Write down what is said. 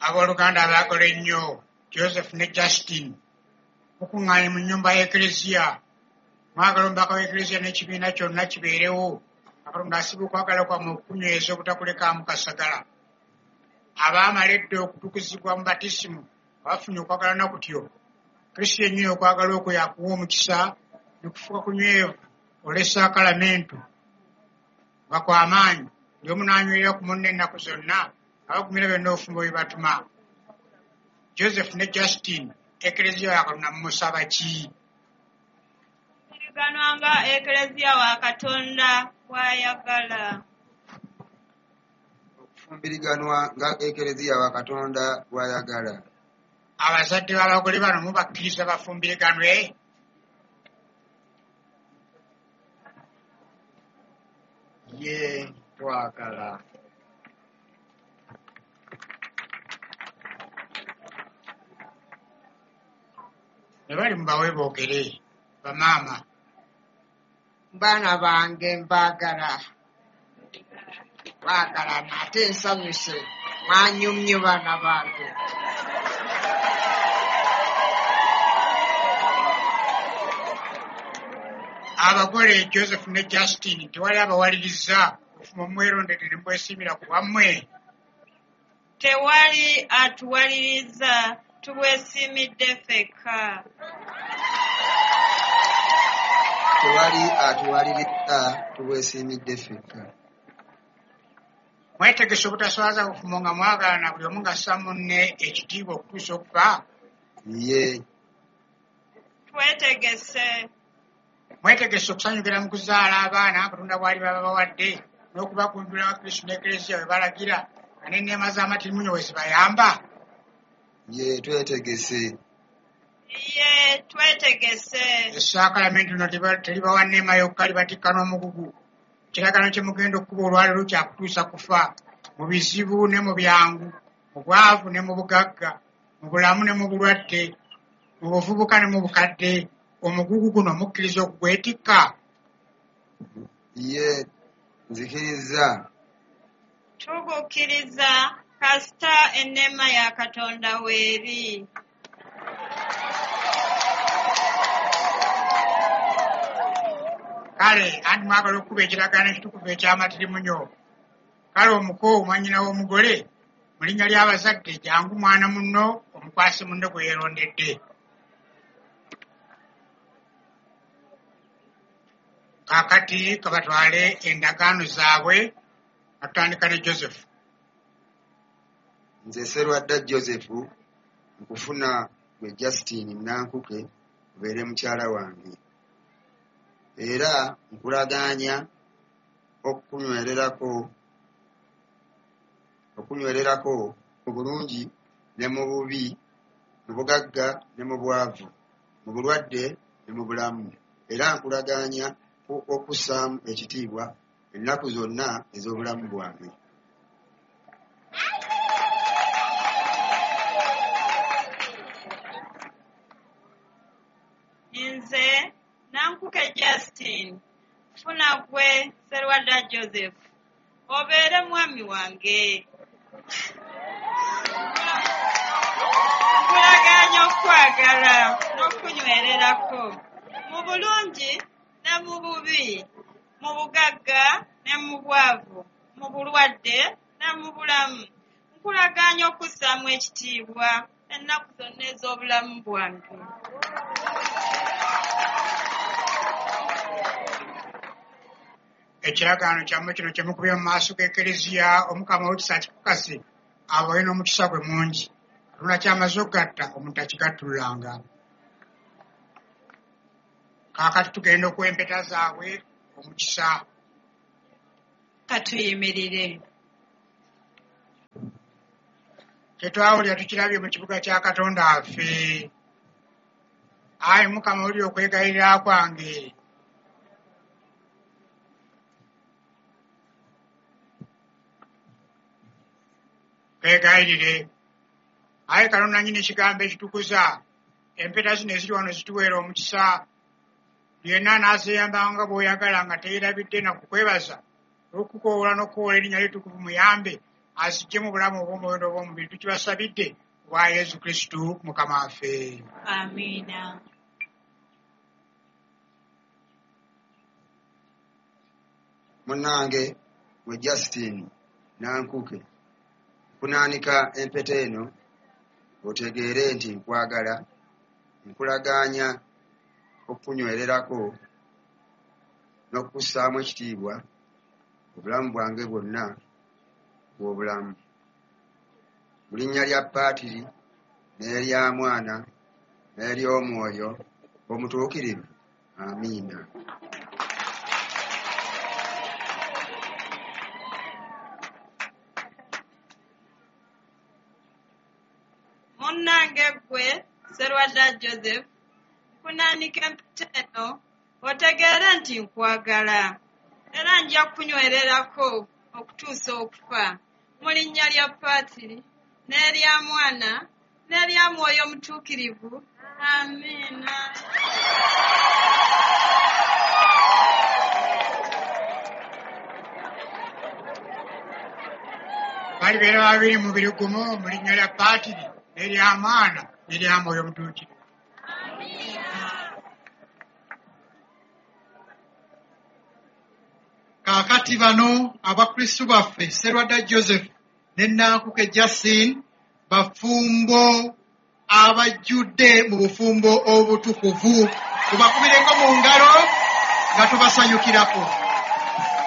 Abooluganda abaagala ennyo, Joseph ne Justine, mukuŋŋaanye mu nnyumba y'Eklezia. Mwagala omubaka w'Eklezia n'ekibiina kyonna kibeerewo nga Katonda asiba okwagala kwammwe okukunyweza obutakulekaamu kasagala. Abaamala edda okutukuzibwa mu Batismu nga bafunye okwagalana kutyo, Kristo yennyini okwagala okwo yakuwa omukisa ne kufuuka kunywevu olw'essaakalamentu nga kwa maanyi, buli omu n'anywerera ku munne ennaku zonna nga bagumira byonna obufumbo bye batuma. Joseph ne Justine, Eklezia wa Katonda mumusaba ki? Kufumbiriganwa nga Eklezia wa Katonda bw'ayagala. Okufumbiriganwa nga Eklezia wa Katonda bw'ayagala. Abazadde b'abagole bano mubakkiriza bafumbiriganwe? Yee, twagala. Ne bali mubawe boogere, bamaama. Baana bange mbaagala. Baagalana ate nsanyuse mwanyumye baana bange. Abagole Joseph ne Justine tewali abawaliriza, obufumbo mubwerondedde ne mubwesiimira ku bwammwe? Tewali atuwaliriza, tubwesiimidde ffekka. Tewali atuwaliriza, tubwesiimidde ffekka. Mwetegese obutaswaza bufumbo nga mwagalana buli omu ng'assa munne ekitiibwa okutuusa okufa? Yee. Twetegese. Mwetegese okusanyukira mu kuzaala abaana Katonda bw'aliba ababawadde n'okubagunjula nga Kristo n'Eklezia bwe balagira nga n'enneema z'amatirimunyo bwe zibayamba? Yee, twetegese. Yee, twetegese. Essaakalamentu lino teribawa nneema yokka, libatikka n'omugugu. Ekiragaano kye mugenda okukuba olwaleero kya kutuusa kufa, mu bizibu ne mu byangu, mu bwavu ne mu bugagga, mu bulamu ne mu bulwadde, mu buvubuka ne mu bukadde. Omugugu guno mukkiriza okugwetikka? Yee, nzikiriza. Tugukkiriza kasita enneema ya Katonda weeri. Kale anti mwagala okukuba ekiragaano ekitukuvu eky'amatirimunyo. Kale omuko mwannyina w'omugole, mu linnya ly'abazadde jangu mwana munno omukwase munne gwe yeerondedde. Kaakati ka batwale endagaano zaabwe nga tutandika ne Joseph. Nze Sserwadda Joseph nkufuna ggwe Justine Nankuke obeere mukyala wange. Era nkulagaanya okukunywererako mu bulungi ne mu bubi, mu bugagga ne mu bwavu, mu bulwadde ne mu bulamu. Era nkulagaanya okussaamu ekitiibwa ennaku zonna ez'obulamu bwange. Nze Nankuke Justine, nfuna ggwe Sserwadda Joseph obeere mwami wange. Nkulagaanya okukwagala n'okukunywererako mu bulungi ne mu bubi, mu bugagga ne mu bwavu, mu bulwadde ne mu bulamu. Nkulagaanya okussaamu ekitiibwa ennaku zonna ez'obulamu bwange. Ekiragaano kyammwe kino kye mukubye mu maaso g'Eklezia, Omukama ow'ekisa akikakase abawe n'omukisa gwe mungi. Katonda ky'amaze okugatta omuntu takigattululanga. Kaakati tugenda okuwa empeta zaabwe omukisa. Ka tuyimirire. Kye twawulira tukirabye mu kibuga kya Katonda waffe. Ayi Mukama wulira okwegayirira kwange. Twegayirire. Ayi Katonda nnyini kigambo ekitukuza, empeta zino eziri wano zituweere omukisa. Buli yenna anaazeeyambanga nga bw'oyagala nga teyeerabidde na kukwebaza olw'okukukoowoola n'okukoowoola erinnya lyo ettukuvu muyambe azijje mu bulamu obw'omwoyo n'obw'omubiri. Tukibasabidde bwa Yesu Kristu Mukama waffe. Amiina. Munnange gwe Justine Nankuke, nkunaanika empeta eno otegeere nti nkwagala, nkulagaanya okukunywererako n'okukussaamu ekitiibwa obulamu bwange bwonna obw'obulamu. Mu linnya lya Paatiri n'erya Mwana n'ery'Omwoyo Omutuukirivu, amiina. Munnange ggwe Sserwadda Joseph, nkunaanika empeta eno otegeere nti nkwagala era nja kukunywererako okutuusa okufa. Mu linnya lya Paatiri n'erya Mwana n'erya Mwoyo Mutuukirivu, amiina. Balibeera babiri mubiri gumu mu linnya lya Paatiri n'erya Mwana n'erya Mwoyo Mutuukirivu. Kaakati bano abakristu baffe Sserwadda Joseph ne Nankuke Justine bafumbo abajjudde mu bufumbo obutukuvu. Tubakubireko mu ngalo nga tubasanyukirako.